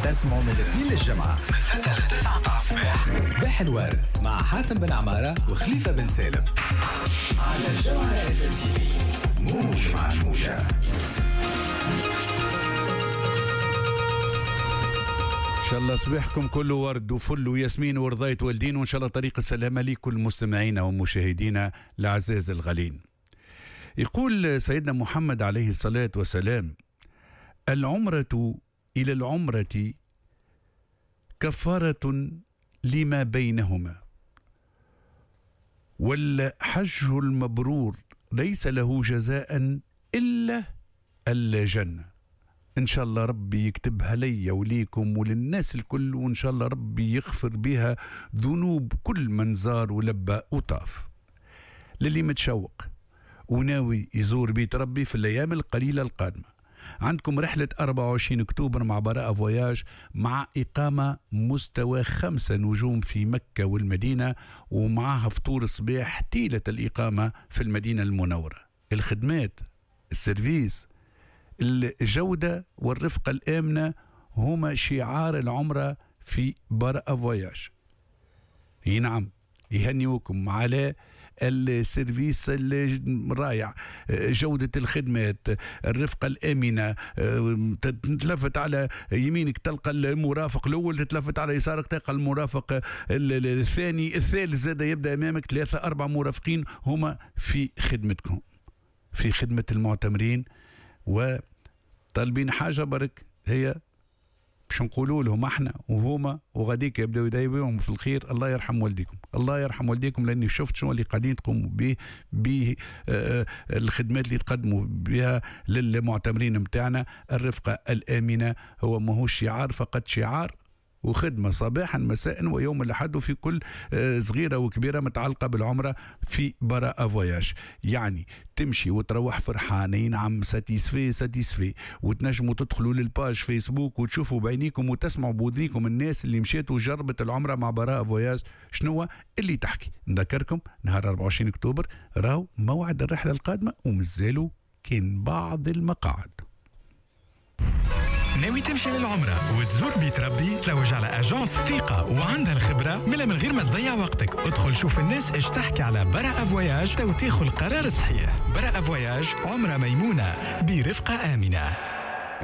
تسمعوا من الاثنين للجمعة من 6 ل 9 متاع الصباح. صباح الورد مع حاتم بن عمارة وخليفة بن سالم على الجوهرة اف ام تي في، موج مع الموجة. إن شاء الله صباحكم كله ورد وفل وياسمين ورضاية والدين، وإن شاء الله طريق السلامة لكل مستمعينا ومشاهدينا الأعزاز الغالين. يقول سيدنا محمد عليه الصلاة والسلام: العمرة إلى العمرة كفارة لما بينهما، والحج المبرور ليس له جزاء إلا الجنة. إن شاء الله ربي يكتبها لي وليكم وللناس الكل، وإن شاء الله ربي يغفر بها ذنوب كل من زار ولبى وطاف. للي متشوق وناوي يزور بيت ربي في الأيام القليلة القادمة، عندكم رحلة 24 أكتوبر مع براءة فواياج، مع إقامة مستوى 5 نجوم في مكة والمدينة، ومعها فطور صباح طيلة الإقامة في المدينة المنورة. الخدمات، ال service، الجودة والرفقة الآمنة هما شعار العمرة في براءة فواياج. نعم، يهنيوكم على ال service الرائع، جودة الخدمات، الرفقة الآمنة. تتلفت على يمينك تلقى المرافق الأول، تتلفت على يسارك تلقى المرافق الثاني، الثالث زاد يبدأ أمامك، 3 4 مرافقين هما في خدمتكم، في خدمة المعتمرين. وطالبين حاجة برك، هي باش نقولوا لهم احنا وهما وغاديك يبداو يدايبوهم في الخير: الله يرحم والديكم، الله يرحم والديكم، لاني شفت شنو اللي قاعدين تقوموا به الخدمات اللي تقدموا بها للمعتمرين نتاعنا. الرفقة الامنة هو ماهوش شعار فقط، شعار وخدمة صباحا مساء ويوم الأحد، وفي كل صغيرة وكبيرة متعلقة بالعمرة في براءة فواياج. يعني تمشي وتروح فرحانين، عم satisfait satisfait. وتنجموا تدخلوا لل page فيسبوك وتشوفوا بعينيكم وتسمعوا بودنيكم الناس اللي مشات وجربت العمرة مع براءة فواياج شنو اللي تحكي. نذكركم نهار 24 أكتوبر راهو موعد الرحلة القادمة، ومازالوا كان بعض المقاعد. ناوي تمشي للعمرة وتزور بيت ربي؟ تلوج على agence ثقة وعندها الخبرة، من غير ما تضيع وقتك ادخل شوف الناس ايش تحكي على براءة فواياج تو تاخذ القرار الصحيح. براءة فواياج، عمرة ميمونة برفقة آمنة.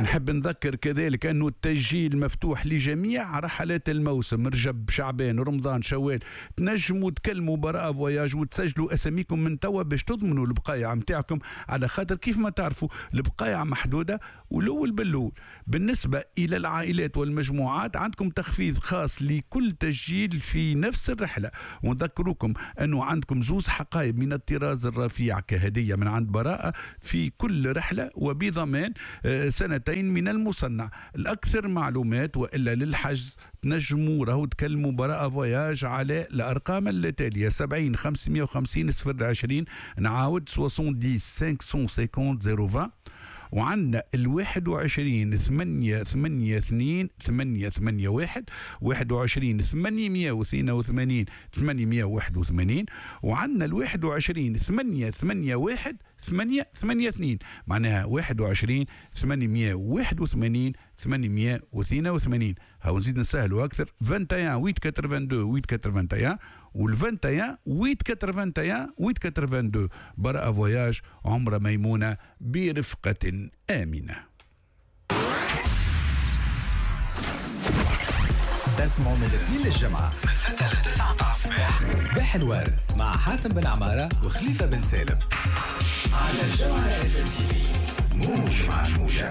نحب نذكر كذلك أنه التسجيل مفتوح لجميع رحلات الموسم، رجب، شعبان، رمضان، شوال. تنجموا تكلموا براءة فواياج وتسجلوا أساميكم من توا باش تضمنوا البقايع متاعكم، على خاطر كيف ما تعرفوا البقايع محدودة والأول بالأول. بالنسبة إلى العائلات والمجموعات عندكم تخفيض خاص لكل تسجيل في نفس الرحلة. ونذكركم أنه عندكم 2 حقائب من الطراز الرفيع كهدية من عند براءة في كل رحلة، وبضمان 2 سنين من المصنع. الأكثر معلومات وإلا للحجز تنجموا راهو تكلموا براءة فواياج على الأرقام التالية: 70 550 020، نعاود 70 550 020. وعندنا 21 882 881، 21 882 881، وعندنا 21 881 882، معناها 21 881 882. هاو نزيد نسهلوا أكثر: 21 882 881 وال 21 881 882. براءة فواياج، عمرة ميمونة برفقة آمنة. تسمعوا من الاثنين للجمعة من 6 ل 9 متاع الصباح. صباح الورد مع حاتم بن عمارة وخليفة بن سالم على الجوهرة اف ام تي في، موج مع الموجة.